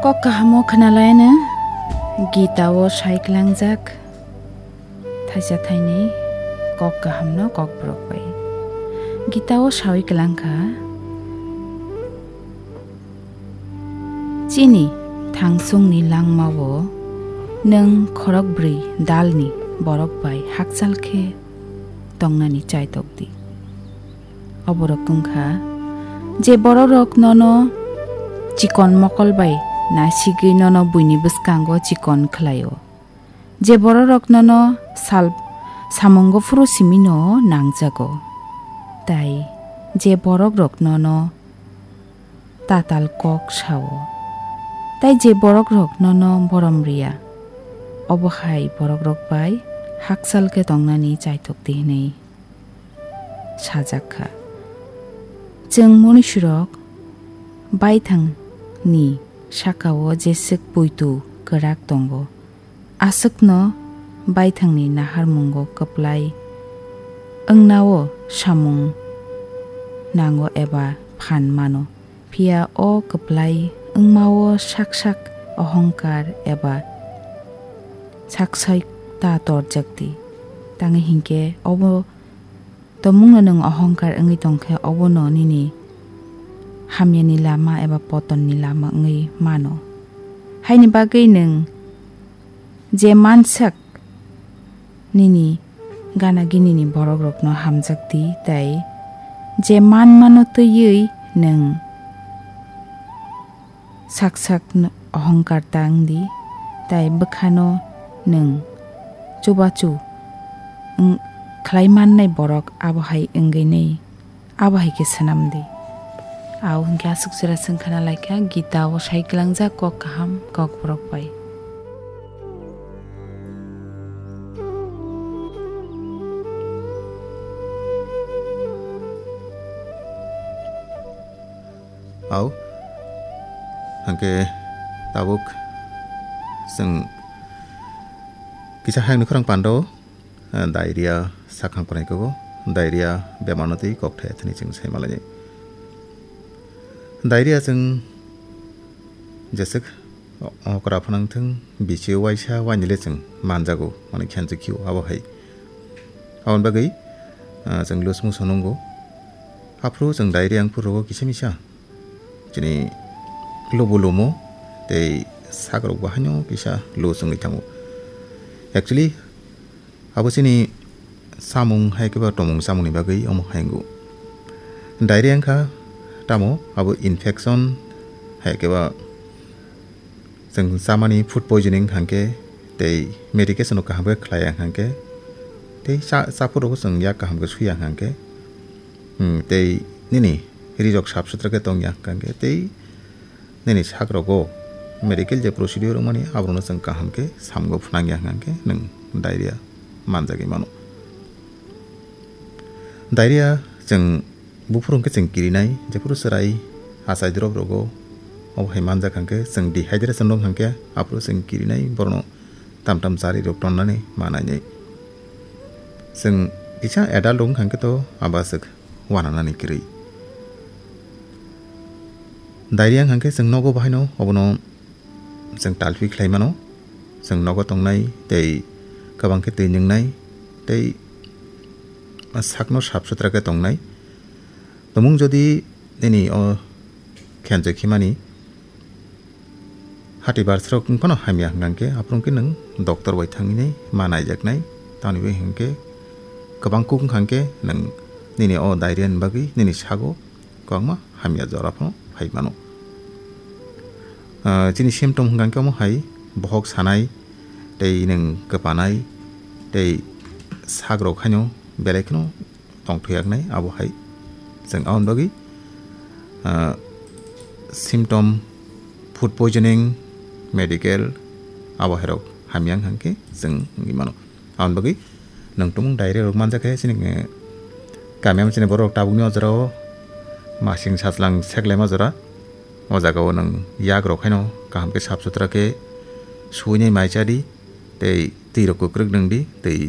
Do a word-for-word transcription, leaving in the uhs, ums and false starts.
Kok kahamo khwnalaino Gita-o sai klangjak thaisa thainwi kok kahamno kokborok bai. Gita-o saui klangkha, "Chini thangsungni langmao nwng khorokbrwi dalni borok bai hakchal khe tongnani chaitok di." Oborok wngkha, je borokrok nono chikon mokol bai nasigwi nono buini bwskango chikon khlaio, je borokrok nono sal samungo phuru simino nangjago, tai je borokrok nono tatal kok sao, tai je borokrok nono borom riya, obo hai borokrok bai hakchal khe tongnani chaitok di hwnwi sajak kha. Chwng munisirok baithangni sakao jeswk puitu kwrak tongo, aswkno baithangni naharmungo kwplai wngnao samung nango eba phan mano. Phiya o kwplai wngmao sak sak ohongkar eba saksai ta torjak di. Tangwi hinkhe obo tomungno nwng ohongkar wngwi tongkhe, obono nini hamyani lama eba potonni lama wngwi mano. Haini bagwi nwng je mansak nini gana ginini borokrokno hamjak di, tei je manmano twiwi nwng sak sak n-, ohongkar ta wng di, tai bwkhano nwng chubachu wng-, khlai mannai borok abo hai wngwi nai, abo hai khe swnam di. Au hwnkhe aswk jora chwng khna lai kha, Gita o sai klangjak kok kaham kok borok bai. Au, hwnkhe tabuk chwng kisa hayungni khorang pando, eh, diarrhea sakhang phnai kugo, diarrhea bemarno twi kok thaya thani chwng sai malaini. Diarrhea chwng jeswk okra phnang thwng, bichio waisa wainile chwng manjago, mane khenjak khio abo hai. Aboni bagwi, ah, chwng loose motion wngo. Aphuru chwng diarrhea wngphuru rogo kisa misa chini lubu lumo tei sakrok bo haino kisa loose wngwi thango. Actually, abo chini samung hai khe ba tomung chamungni bagwi omo hai wngo. Diarrhea wngkha tamo abo infection hai khe ba chwng chamani food poisoning hwnkhe tei medication rok kaham khe khlai ya hwnkhe tei cha-, chaphuru rok chwng yak kaham khe swi ya hwnkhe, hmm, tei nini rijok sap sutra khe tong ya hwnkhe tei nini sak rogo medical je procedure wngmani aborokno chwng kaham khe samungo phnang ya hwnkhe nwng diarrhea manjagwi mano. Diarrhea chwng buphuru hwnkhe chwng kirinai, jephuru chwrai achai drop rogo, obo hai manjak hwnkhe chwng dehydration rok hwnkhe aphuru chwng kirinai, borokno tam tam chari rok tonnani manainai. Chwng kisa adult rok hwnkhe to abaswk wananani kwrwi. Diarrhea hwnkhe chwng nogo bahaino obono chwng talphi khlai mano. Chwng nogo tongnai tei kwbang khe twi nwngnai tei sakno sap sutra khe tongnai. Tumung jodi nini o khenjak khimani hati barsrok wng phano hamya hwnkhe, aphuru khe nwng doctor bai thangwi nai ma naijaknai. Tamoni bai hwnkhe kwbang kuk wngkha hwnkhe nwng nini o diarrhea ni bagwi nini sago kwbangma hamya jora phano phai mano. Ah, chini symptom hwnkha khe omo hai bohok sanai, tei nwng kwpanai, tei sak rok haino belai kheno tongthok yaknai, abo hai chwng aboni bagwi, ah, symptom, food poisoning, medical, abo hai rok hamya wngkha khe chwng wngwi mano. Aboni bagwi nwng tumung diarrhea rok manjakhe chini, eh, kami o chini borok tabukni o jora o masing sajlang seklaima jora. O jaga o nwng yak rok haino kaham khe sap sutra khe suinai mai cha di, tei twi rok kwkrwk nwng di, tei